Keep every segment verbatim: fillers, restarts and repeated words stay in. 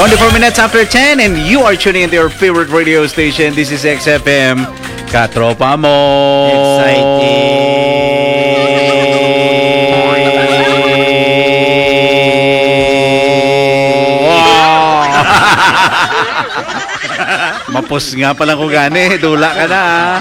Twenty-four minutes after ten, and you are tuning into your favorite radio station. This is X F M. Katropa mo. Exciting. Mapos nga pala ko gani. Dula ka na, ah.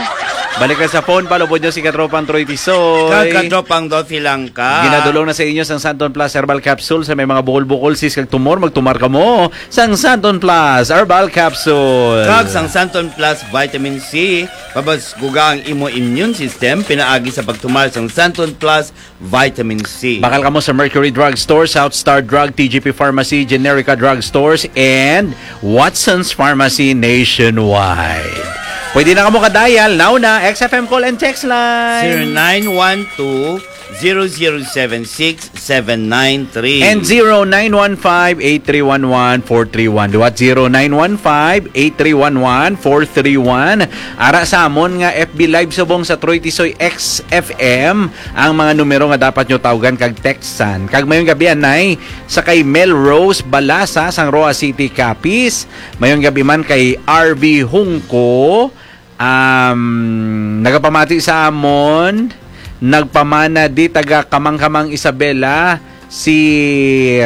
Balik ka sa phone, palubod nyo si Katropang Troy Tisoy. Kag Katropang Dolphy lang ka. Ginadulong na sa inyo sang Santon Plus Herbal Capsule sa may mga bukol-bukol, sis kag tumor, magtumar kamo sang Santon Plus Herbal Capsule. Kag sang Santon Plus Vitamin C, pabasguga ang imo immune system pinaagi sa pagtumar sang Santon Plus Vitamin C. Bakal kamo sa Mercury Drug Store, South Star Drug, T G P Pharmacy, Generica Drug Stores, and Watson's Pharmacy nationwide. Pwede na kamo ka-dial now na X F M call and text line. Zero nine one two, zero zero seven six, seven nine three. And zero nine one five, eight three one one, four three one. Liwat zero nine one five, eight three one one, four three one. Ara sa amon nga F B Live subong sa Troy Tisoy X F M ang mga numero nga dapat nyo tawgan kag textan. Kag mayong gabi, anay, sa kay Mel Rose Balasa sang Roa City, Capiz. Mayong gabi man kay R V Hungko. Um, nagapamati sa amon, nagpamana di taga Kamangkamang, Isabela, si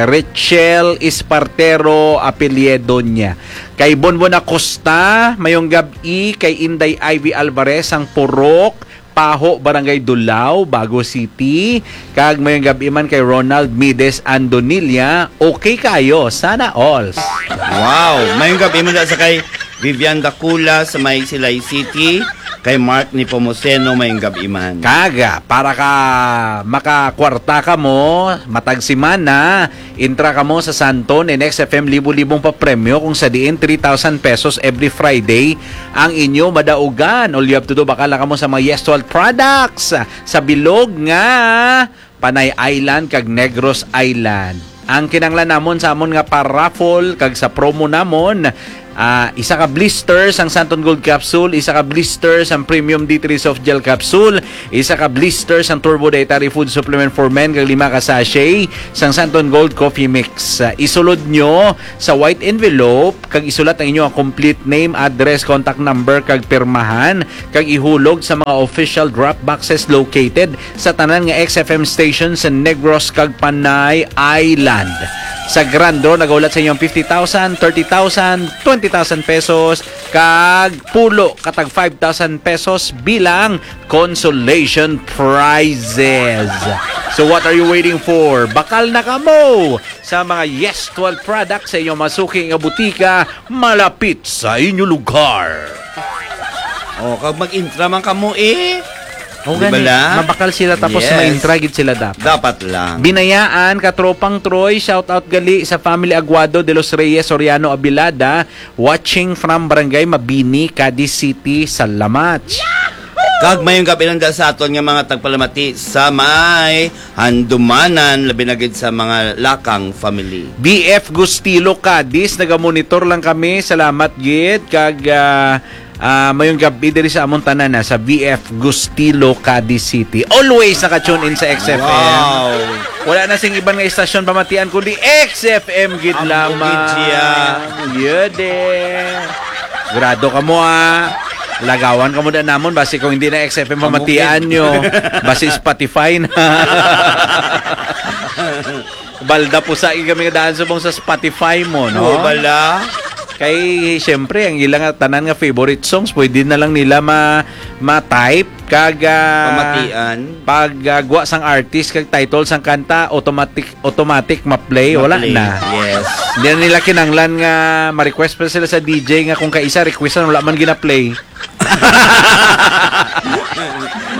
Rachel Espartero apelyido niya. Kay Bonbon Acosta, mayong gab-i, kay Inday Ivy Alvarez, ang Purok, Paho, Barangay Dulao, Bago City, kag mayong gab-i man kay Ronald Mides Andonilla. Okay kayo, sana all. Wow, mayong gab-i man sa kay Vivian Dacula sa may Silay City, kay Mark Nepomuceno, mayong gab-i man. Kaga, para ka makakwarta ka mo, matag semana, intra ka mo sa Santon and X F M libo-libong papremyo kung sa diin three thousand pesos every Friday ang inyo madaugan. All you have to do, bakal na ka mo sa mga Yestual products sa bilog nga Panay Island kag Negros Island. Ang kinanglan namon sa amon nga pa-raffle kag sa promo namon, ah, isa ka blister sang Santon Gold Capsule, isa ka blister sang Premium D three Soft Gel Capsule, isa ka blister sang Turbo Dietary Food Supplement for Men, kag lima ka sachet sang Santon Gold Coffee Mix. Ah, isulod nyo sa white envelope kag isulat ang inyo complete name, address, contact number, kag pirmahan, kag ihulog sa mga official drop boxes located sa tanan nga X F M station sa Negros kag Panay Island. Sa Grand Draw, nagahulat sa inyong fifty thousand, thirty thousand, twenty thousand pesos, kag pulo katag five thousand pesos bilang consolation prizes. So what are you waiting for? Bakal na kamo sa mga Yes Twelve products sa inyong masuki nga butika malapit sa inyo lugar. Oh, kag mag-intra man kamo eh. Oh, Di ba gani, la? Mabakal sila tapos Yes. ma-intra gid sila dapat. Dapat lang. Binayaan, Katropang Troy, shout out gali sa family Aguado de los Reyes Soriano Abilada, watching from Barangay Mabini, Cadiz City. Salamat. Kag mayong gabi lang da sa aton nga mga tagpalamati sa may Handumanan, labi na gid sa mga Lakang family. B F Gustilo Cadiz, nagamonitor lang kami. Salamat gid. Kag, ah, ah, mayong gabi diri sa amon tanan, ah, sa B F Gustilo, Cadiz City. Always naka-tune in sa X F M. Wow. Wala na sing iban nga istasyon pamatian kundi X F M gid Amo lamang. Gid siya. Yun eh. Grado ka mo, ah. Lagawan ka mo na namon, basi kung hindi na X F M Amo pamatian gid. Nyo, basi Spotify na. Balda po sa kami nga daan subong sa Spotify mo, no? Oo, bala. Kay, siyempre, ang ilang tanan nga favorite songs, pwede na lang nila ma-, ma-type kag, ah, Pamatian. Pag, ah, gwa sang artist kag title sang kanta, automatic, automatic ma-play, wala Ma-play. Na. Yes. Hindi na nila kinanglan nga ma-request pa sila sa D J nga kung kaisa requestan, wala man gina-play.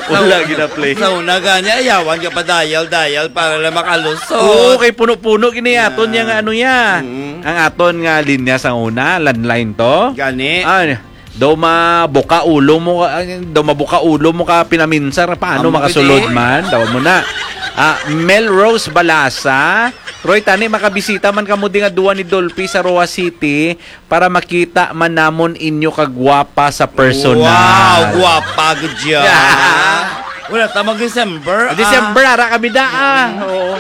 Wala gina-play. Sa una gani, ayawan ka pa dial, dial para lang makalusot. Oo, kay puno-puno gini aton niya nga ano niya. Mm. Ang aton nga linya sa una, landline to. Gani. Ah, daw mabuka ulo mo, ah, daw mabuka ulo mo ka pinaminsar, paano Amo makasulod gini. Man? Daw mo na. Ah, Melrose Balasa, Roy, tani makabisita man kamo di nga duwa ni Dolphy sa Roa City para makita man namon inyo kagwapa sa personal. Wow, gwapa gid siya. Wala ta mag-December, ah. December, ara kami da, ah. Mm. Oo.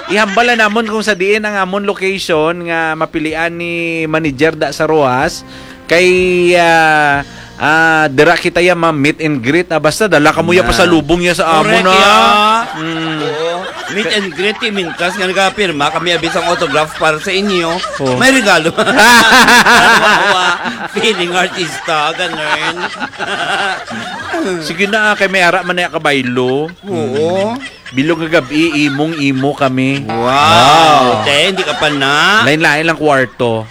Ihambal na namon kung sa diin ang amon location nga mapilian ni Manager da sa Rojas. Kay, ah, ah, dira kita ya ma-meet and greet. Ah, basta dala kamo ya Na. pasalubong ya sa amon, Correct, ha? ya. Mm. Oo. Meet and greet, ti mintas nga nagapirma kami abi sang autograph para sa inyo. Oh. May regalo. Wow, feeling artista, ganun. Sige na, kay may ara man na kabaylo. Oo. Mm. Bilog nga gab-i, imong imo kami. Wow. Wow. Te, hindi ka pa na. Lain-lain lang kwarto.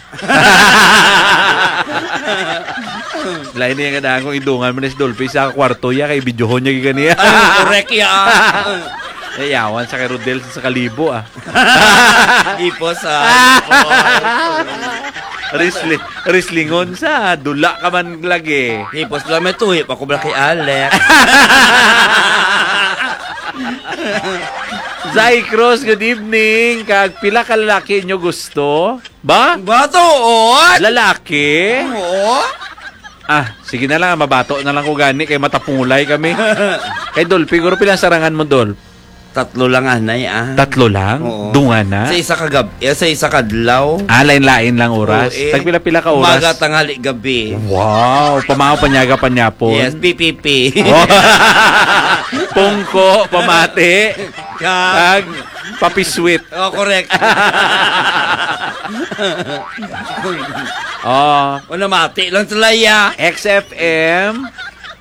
Lain niya nga daan kung idungan mo na si Dolphy sa kwarto ya, kay videohon niya giganiya. Ay, correct ya. Yayawan sa kay Rodel sa kalibo, ah. Ipos, ah. Wrestling, wrestlingon sa dula ka man lagi. Ipos lang may tuhi pa ko kay Alex. Zay Cruz, good evening. Kag pila ka lalaki inyo gusto? Ba? Ba, tuod? Lalaki? Oo. Ah, sige na lang, mabato na lang ko gani kay matapulay kami. Kay Dolphy, guro pila ang sarangan mo, Dolph? Tatlo lang, anay, ah. Tatlo lang? Oo. Dunga na? Sa isa ka gab-, eh, sa isa ka adlaw. Ah, lain-lain lang oras. Oo, eh. Tagpila-pila ka oras? Umaga, tanghali, gabi. Wow, pamahaw, panyaga, panyapon. Yes, P P P. Oh. Pungko, pamati. Kag papiswit. Oh, correct. Oh. O, namati lang sila, ya. X F M,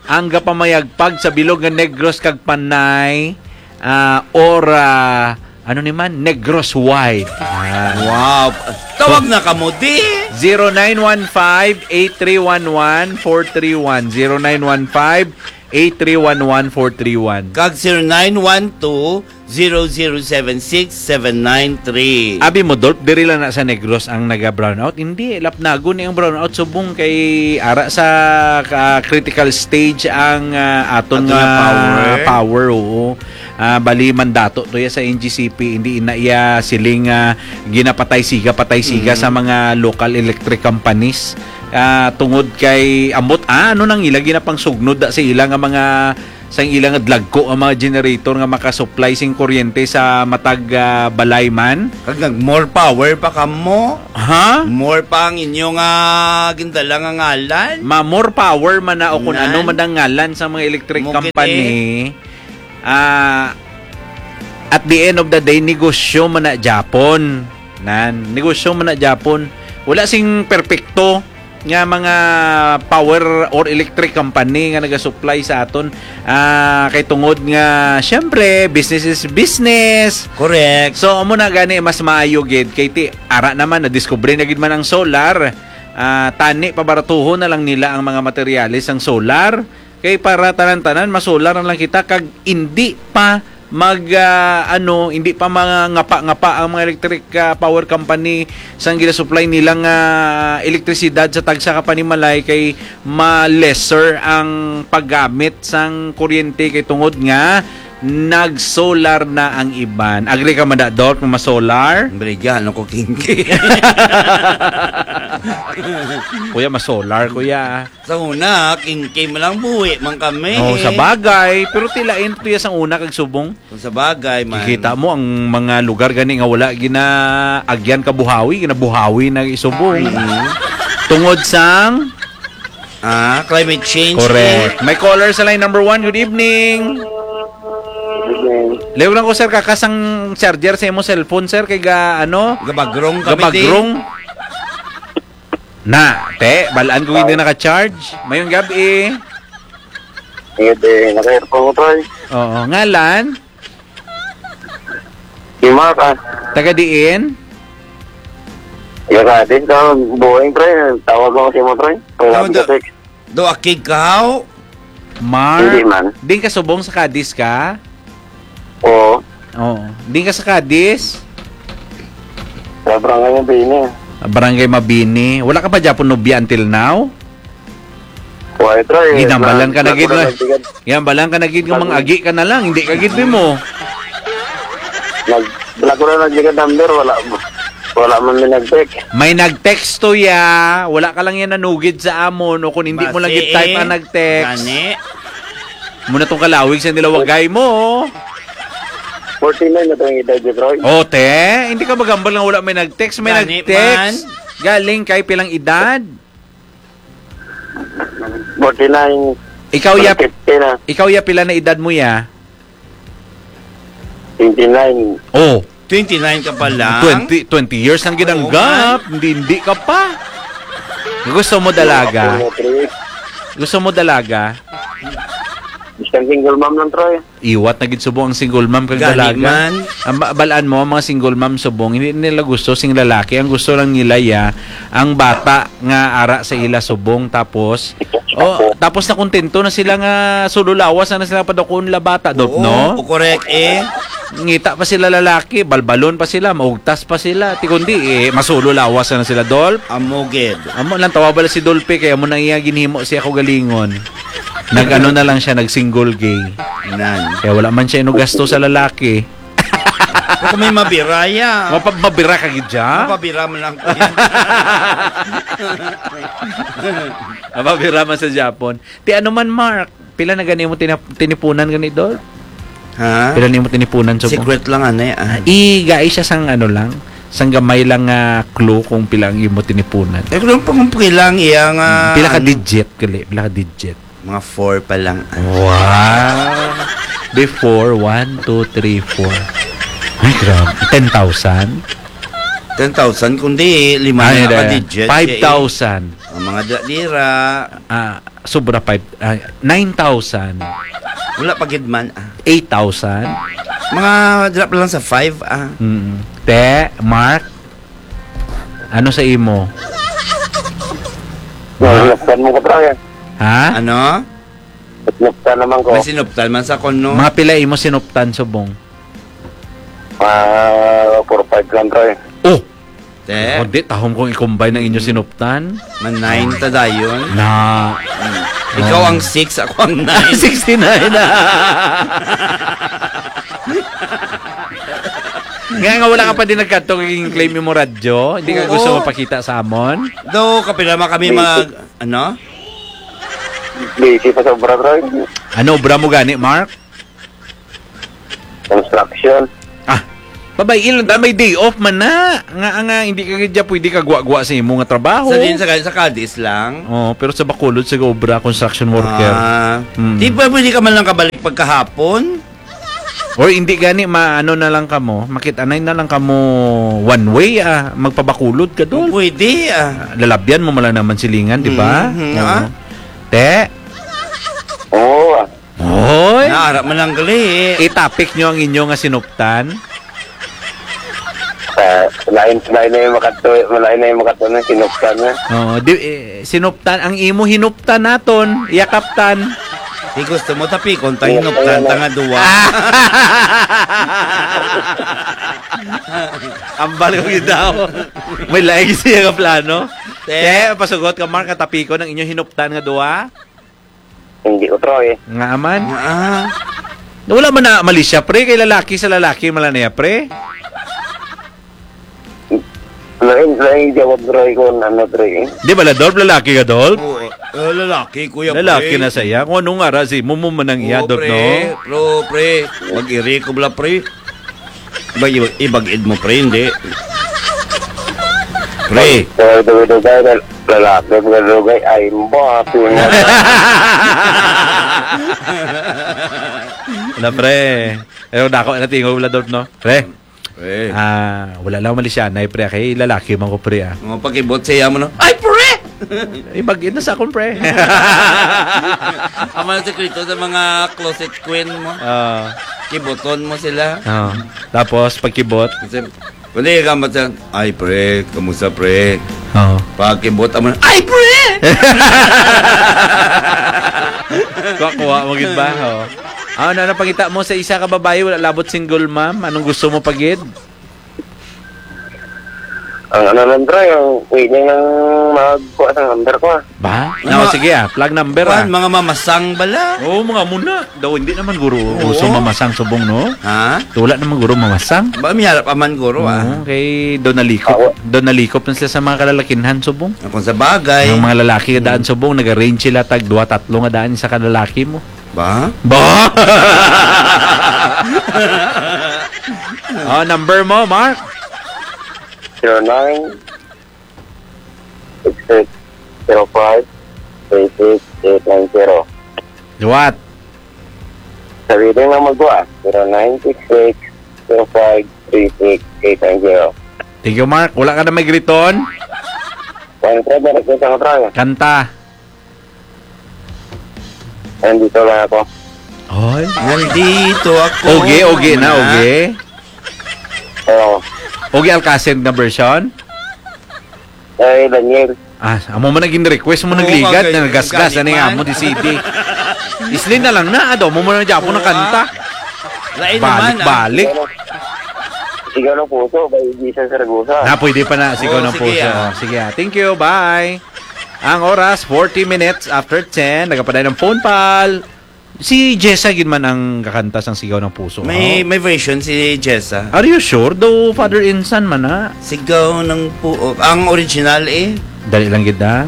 ang gapamayagpag sa bilog nga Negros kag Panay, ah, or, ah, ano ni man, Negros wide. Ah. Wow. Tawag na kamo, di. Zero nine one five, eight three one one, four three one. Zero nine one five, eight three one one, four three one. Kag zero nine one two, zero zero seven six, seven nine three. Abi mo, Dolph, diri lang na sa Negros ang naga-brownout. Hindi, lapnagon ni ang brownout subong kay ara sa ka-, critical stage ang, ah, aton Aton nga nga power. power, oo. Ah, bali, mandato to ya sa N G C P, hindi na iya siling, ah, ginapatay siga, patay siga Mm. sa mga local electric companies. Ah, tungod kay ambot, ah, ano nang ila ginapangsugnod da sa ila nga mga, sang ila nga dlagko ang mga generator nga makasupply sing kuryente sa matag, ah, balay man. Kag nag more power pa kamo? Ha? More pa ang inyo nga gindala nga ngalan? Ma, more power man na o kung Nan? ano man ang ngalan sa mga electric Mukit company. eh. Ah, at the end of the day, negosyo man na Japon. Nan, negosyo man na Japon. Wala sing perpekto nga mga power or electric company nga nagasupply sa aton. Ah, kay tungod nga, syempre, business is business. Correct. So, amo na gani mas maayo gid kay ti ara naman nadiskubre na gid man ang solar. Ah, tani pabaratuhon na lang nila ang mga materyales sang solar. Kay para tanan-tanan, masolar na lang kita kag indi pa mag, ah, ano, indi pa mangapa-ngapa ang mga electric, ah, power company sang ginasupply nila nga elektrisidad sa tagsa ka panimalay kay ma-lesser ang paggamit sang kuryente kay tungod nga nag-solar na ang iban. Agree ka man da, Doc, nga ma-solar? Brigya, ano ko, kinky? Kuya, ma-solar, kuya. Sa una, kinky mo lang, buhi man kami. Oh, sa bagay. Pero tilain to ya sang una kag subong. Kung sa bagay man. Kikita mo ang mga lugar gani nga wala ginaagyan ka buhawi, ginabuhawi na isubong. Mm. Tungod sang Ah, climate change. Correct. May caller sa line number one. Good evening. Good evening. Liwag lang ko, sir, kakasang charger sa imo cellphone, sir, kay ga, ano? Gabagrong kami, Gabagrong. Na, te, balaan ko hindi naka-charge. Mayong gabi. Sige, te, naka-earphone ko, Troy. Oo, ngalan? Si Mark, ah. Taga diin? Taga Cadiz, ka, Boeing, Troy. Tawag mo si mo, Troy. Ang Ano lapit do, ka, Troy. do akig ka, haw? Mark? Hindi man. Di ka subong sa Cadiz ka? Oo. Oo. Di ka sa Cadiz? Sa Barangay Mabini. Barangay Mabini. Wala ka pa Japon nobya until now? Why, Troy? Ginambalan ka na gid, Nagkulang no? na bigyan. Yan, balang ka na gid nga Bago. mang-agi ka na lang, hindi ka gid mo. Nag-, wala ko na nagbigay number, wala, wala man may nag-text. May nag-text to ya, wala ka lang yan nanugid sa amon, o kung hindi mo lang Basi, gid type eh. ang nag-text. Gani. Muna tong kalawig sa nilawagay mo. Forty-nine na to ang edad, Troy. O, te, hindi ka magambal nga wala may nag-text. May Gani nag-text. man. Galing kay pilang edad? Forty-nine. Ikaw, ya, Fifty na. Ikaw, ya, pila na edad mo, ya? Twenty-nine. Oh. Twenty-nine ka pa lang? Twenty, twenty years ang Oo, ginanggap. man. Hindi, hindi ka pa. Gusto mo dalaga? Ako na, Troy. Gusto mo dalaga? Isang single mom lang, Troy. Iwat na gid subong ang single mom kag Gani dalaga. man. Ang ba-, balaan mo, ang mga single mom subong, hindi nila gusto sing lalaki. Ang gusto lang nila, ya, ang bata nga ara sa ila subong. Tapos, oh, tapos nakontento na sila nga solo lawas na sila padukon la bata, Dop, Oo, no? o correct, eh. Ngita pa sila lalaki, balbalon pa sila, maugtas pa sila. Ti kundi, eh, masolo lawas na sila, Dolp. Amo gid. Amo lang, tawag bala si Dolpe, kaya mo na iya ginhimo siya ko galingon. Nag-ano na lang siya, nag-single gay. Nan. Kaya wala man siya inugasto sa lalaki. Kung may mabiraya. Mapag-, mabira ka gid siya? Mapabira man lang ko yan. Mapabira man sa Japon. Ti ano man, Mark? Pila na gani mo tinap-, tinipunan gani, Dol? Ha? Pila nimo tinipunan, subong? Secret lang, anay, ah. Igai siya sang ano lang, sang gamay lang nga clue kung pila ang imo tinipunan. Eh, kung pang-, kung pila ang iya nga, Pila ka ano? digit, gali? Pila ka digit? Mga four pa lang, ah. Wow! Before, one, two, three, four. Ay, grabe. Ten thousand? Ten thousand, kundi lima Ay, na ka hindi. digit, Five thousand. Ang mga dira-dira. Ah, sobra five, ah, nine thousand. Wala pa gid man, ah. Eight thousand. Mga drop lang sa five, ah. Mm. Te, Mark, ano sa imo? Wala, sinuptan mo ko, Troy. Ha? Ano? Sinuptan naman ko. May sinuptan man sa kono. Mga pila imo sinuptan, subong? Ah, four five lang, Troy. Oh! Te? Kundi, tahom kong i-combine ang inyo sinuptan. Man nine ta dayon. Na. Hmm. Ikaw Oh. ang six, ako ang nine. Sixty-nine na. Nga, nga wala ka pa din nagkadto kay claim mo radyo, hindi ka Oo. gusto mapakita sa amon? Do, kapila man kami Busy. mag, ano? Busy pa sa obra, Troy. Ano obra mo gani, Mark? Construction. Ah, babay, ilan ta may day off man na. Nga, nga, hindi ka gid pwede ka gwa-gwa sa imo nga trabaho. Sa din, sa, sa Cadiz lang. Oh, pero sa Bacolod, sa obra, construction worker. Ah, Mm. di ba pwede ka man lang kabalik pagkahapon? Or hindi gani, ma-, ano na lang kamo, makit-anay na lang kamo one way, ah, magpabakulod ka doon. Pwede, ah. Ah, lalabyan mo mala naman silingan, di ba? Mhm, Oo. ah. Te? Oo, ah. Hoy! Naara man lang gali. I-topic nyo ang inyo nga sinuptan. Ah, lain, lain na yung makadto, lain na yung makadto na sinuptan na. Oo, di, eh, sinuptan, ang imo hinuptan naton, yakaptan. Di gusto mo tapikon ta, hinuptan ta nga duwa. Ambal ko gid daw. May lain siya nga plano. Te. Te, pasugot ka, Mark, nga tapikon ang inyo hinuptan nga duwa? Hindi ko, Troy. Nga man? Ah. Wala man na mali siya, pre. Kay lalaki sa lalaki, mala niya, pre. Lain, lain jawab, Troy, kung ano, Troy, eh. Di ba, Dolph? Lalaki ka, Dolph? Oo. Eh, lalaki, kuya, Lalaki pre. na sa iya. Kung anong ara, si Mumu man ang iya, Oo, Dolph, pre. no? Pro, pre. Mag-iri ko bala, pre. Ibag-, ibag-id mo, pre, hindi. Pre. Pero dugay-dugay, lal-, lalaki, pero dugay, ay, mo, happy na. Wala, pre. Pero dako na tingog, wala, Dolph, no? Pre. Pre. Ah, wala lang mali siya, nay, pre. Kay lalaki man ko, pre, ah. Mga pakibot sa iya mo, no? Ay, pre! Ibag-id na sa akon, pre. Ang mga sekreto sa mga closet queen mo. Ah. Kibuton mo sila. Ah. Tapos, pagkibot? Kasi, kundi ka mo sa, "Ay, pre, kamusta, pre?" Oo. Pagkibot mo, "Ay, pre!" Kuha-kuha mo gid ba? Oo. Ah, ano, ano pangita mo sa isa ka babae, wala labot single mom? Anong gusto mo pa gid? Ang ano lang, Troy, ang pwede nang magkuha sa number ko, ah. Ba? Mga No, sige, ah. Plug number, kuwan, ah. mga mamasang bala. Oo, mga muna. Daw, hindi naman guro Oo. uso mamasang subong, no? Ha? Wala naman guro mamasang. Ba, may harap aman guro, ah. Oo, kay daw nalikop. Awa. Daw nalikop na sila sa mga kalalakinhan subong. Kung sa bagay. Ang mga lalaki nga daan Hmm. subong, nag-arrange sila tag duha, tatlo nga daan sa kalalaki mo. Ba? Ba? Oh, number mo, Mark? Zero nine six six zero five three six eight nine zero. Liwat. Sa reading lang magbuha, zero nine six six zero five three six eight nine zero. Thank you, Mark. Wala ka na may griton? One try, meron ko isang try. Kanta. Nandito lang ako. Oy. Nandito ako. Oge, oge na, Mana. Oge. Oo. Oge Alcacid nga version? Ay, Daniel. Ah, amo man naging request mo, Oo, nagligad, kagay-, nagasgas, gani ano yung man. Amo di C D. Islin na lang na, ado mo man ang Japon Oo, nakanta. ah. Lain naman, ah. Balik-balik. Sigaw ng puso, by Jason Saragosa. Na, pwede pa na, sigaw Oo, ng sige, puso. Ah. Oh, sige, ah. Thank you, bye. Ang oras, forty minutes after ten. Nagapaday ng phone pal. Si Jessa gid man ang kakanta sang Sigaw ng Puso, May, ha? May version si Jessa. Are you sure? Do father and son man, ha? Sigaw ng Pu-, oh, ang original, eh. Dali lang gid, ha?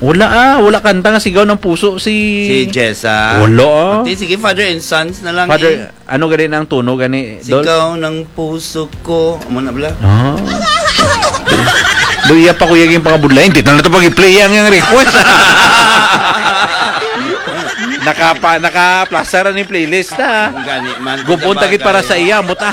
Wala, ah. Wala kanta nga Sigaw ng Puso si Si Jessa. Wala, ah. Ate, sige, father and sons na lang, Father, eh. Ano gani ang tono gani, Dol? Sigaw ng puso ko. Amo na bala. Ah. Luya pa, kuya, yung pangabudlay. Hindi na nato pag-i-play ang, ang request. Nakapa-, nakaplastar ang playlist, ha? Ang gani man. Gubon tagit para sa iya, buta.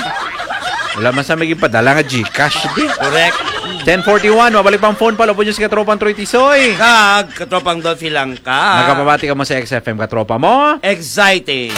Wala man sa may padala nga Gcash, di. Correct. Ten forty-one, mabalik pang phone pal. Upod niyo si Katropang Troy Tisoy. Kag Katropang Dolphy lang ka. Nakapamati ka mo sa X F M, katropa mo? Exciting.